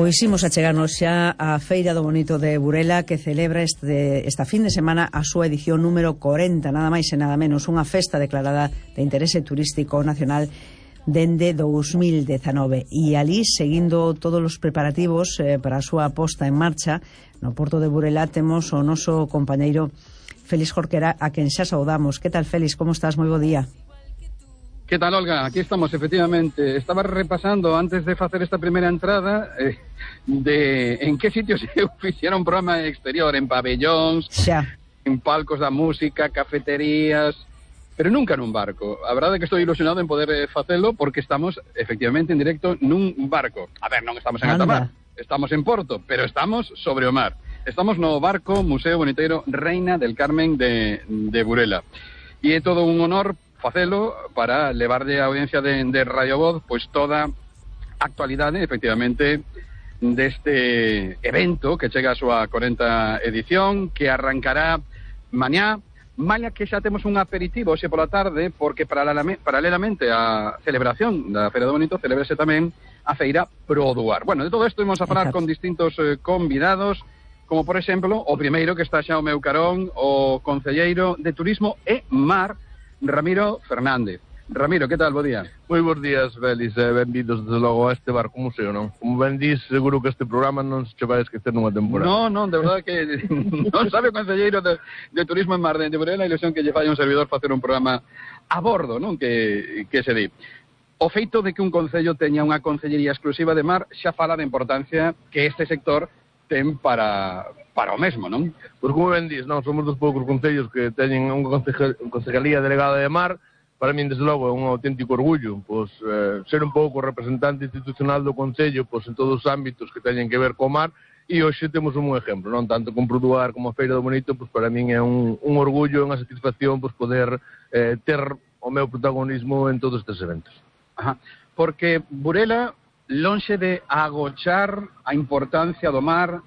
Pois imos achegarnos xa á Feira do Bonito de Burela, que celebra esta fin de semana a súa edición número 40, nada máis e nada menos, unha festa declarada de interese turístico nacional dende 2019. E ali, seguindo todos os preparativos para a súa posta en marcha, no Porto de Burela temos o noso compañeiro Félix Jorquera, a quen xa saudamos. Que tal, Félix? Como estás? Moi bo día. Que tal, Olga? Aquí estamos, efectivamente. Estaba repasando, antes de facer esta primeira entrada, de en que sitios se fixera un programa exterior, en pabellóns, xa, en palcos da música, cafeterías, pero nunca nun barco. A verdade é que estou ilusionado en poder facelo, porque estamos, efectivamente, en directo nun barco. A ver, non estamos en alta mar, estamos en Porto, pero estamos sobre o mar. Estamos no barco Museo Boniteiro Reina del Carmen de Burela. E é todo un honor facelo para levarlle a audiencia de Radio Voz pois toda a actualidade, efectivamente, deste evento que chega a súa 40 edición, que arrancará mañá, mañá que xa temos un aperitivo hoxe pola tarde, porque paralelamente á celebración da Feira do Bonito, celebrase tamén a Feira Produar. Bueno, de todo isto vamos a falar con distintos convidados, como por exemplo, o primeiro que está xa ao meu carón, o concelleiro de Turismo e Mar, Ramiro Fernández. Ramiro, que tal? Bo día. Moi bons días, Félix, benvidos desde logo a este barco museo, non? Como ben dis, seguro que este programa non se vai esquecer nunha temporada. Non, de verdade que non sabe o concelleiro de Turismo en Mar de Burela a ilusión que lle fai un servidor facer un programa a bordo, non? Que se di. O feito de que un concello teña unha concellería exclusiva de mar xa fala da importancia que este sector ten para o mesmo, non? Pois como ben dis, non, somos dos poucos concellos que teñen unha concejalía delegada de mar. Para min, desde logo, é un auténtico orgullo, pois, ser un pouco representante institucional do concello, pois, en todos os ámbitos que teñen que ver co mar, e hoxe temos un exemplo, non? Tanto con Produar como a Feira do Bonito, pois, para min é un orgullo, unha satisfacción, pois, poder ter o meu protagonismo en todos estes eventos. Ajá. Porque Burela, lonxe de agochar a importancia do mar,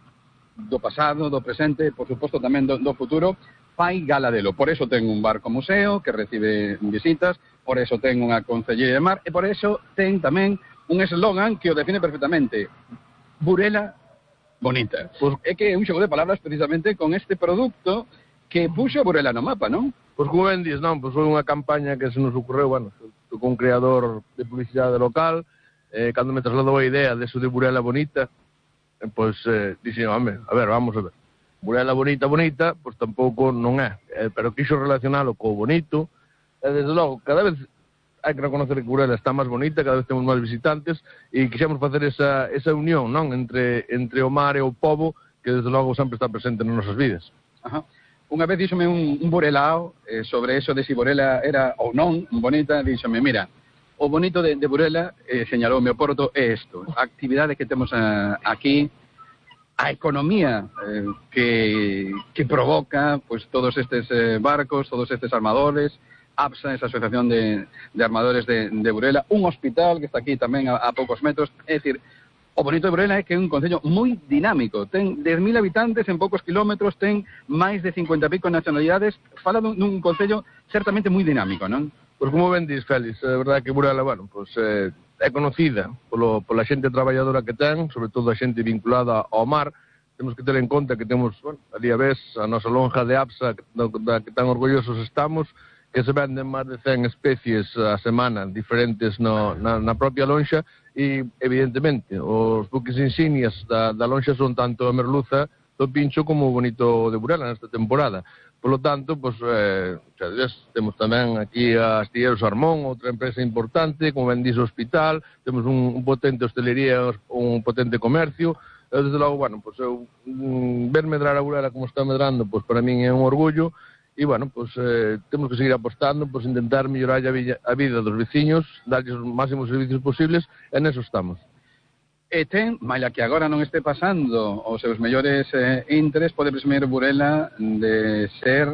do pasado, do presente, por suposto tamén do futuro, fai gala delo. Por eso ten un barco museo que recibe visitas, por eso ten unha concellería de mar, e por eso ten tamén un eslogan que o define perfectamente: Burela bonita. Pois é que é un xogo de palabras precisamente con este produto que puxo Burela no mapa, non? Pois como ben dis, non, pois foi unha campaña que se nos ocurreu, bueno, con un creador de publicidade local, cando me trasladou a idea de eso de Burela bonita, pois dixen, home, a ver, vamos a ver. Burela bonita, pois tampouco non é, pero quixo relacionalo co bonito, e desde logo, cada vez hai que reconocer que Burela está máis bonita, cada vez temos máis visitantes, e quixemos facer esa unión, non, entre o mar e o pobo, que desde logo sempre está presente nas nosas vidas. Ajá. Unha vez díxome un burelao sobre eso de si Burela era ou non bonita, díxome, mira, o bonito de Burela, señalou o meu Porto, é isto, a actividade que temos aquí, a economía que provoca pues todos estes barcos, todos estes armadores, APSA, esa asociación de armadores de Burela, un hospital que está aquí tamén a poucos metros. É dicir, o bonito de Burela é que é un concello moi dinámico, ten 10.000 habitantes en poucos kilómetros, ten máis de 50 e pico nacionalidades, fala dun concello certamente moi dinámico, non? Pois como ben dis, Félix, é verdade que Burela, bueno, pois é conocida pola xente traballadora que ten, sobre todo a xente vinculada ao mar. Temos que ter en conta que temos, bueno, ali a vez, a nosa lonja de APSA, da que tan orgullosos estamos, que se venden máis de 100 especies a semana diferentes na propia lonxa, e, evidentemente, os buques insignias da lonxa son tanto a merluza do Pincho como o bonito de Burela nesta temporada. Por lo tanto, pues, temos tamén aquí a Astilleros Armón, outra empresa importante, como ben diz o hospital, temos un potente hostelería, un potente comercio, desde logo, bueno, pues, ver medrar a Burela como está medrando, pues, para min é un orgullo, e, bueno, pues, temos que seguir apostando, pues, intentar mellorar a vida dos veciños, darlles os máximos servicios posibles, e neso estamos. E ten, maila que agora non este pasando os seus mellores intres, pode presumir Burela de ser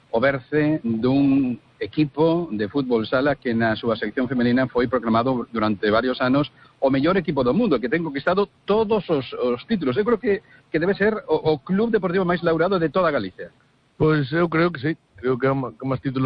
o berce dun equipo de fútbol sala que na súa sección femenina foi proclamado durante varios anos o mellor equipo do mundo, que ten conquistado todos os títulos. Eu creo que debe ser o club deportivo máis laurado de toda Galicia. Pois eu creo que sí, creo que é máis títulos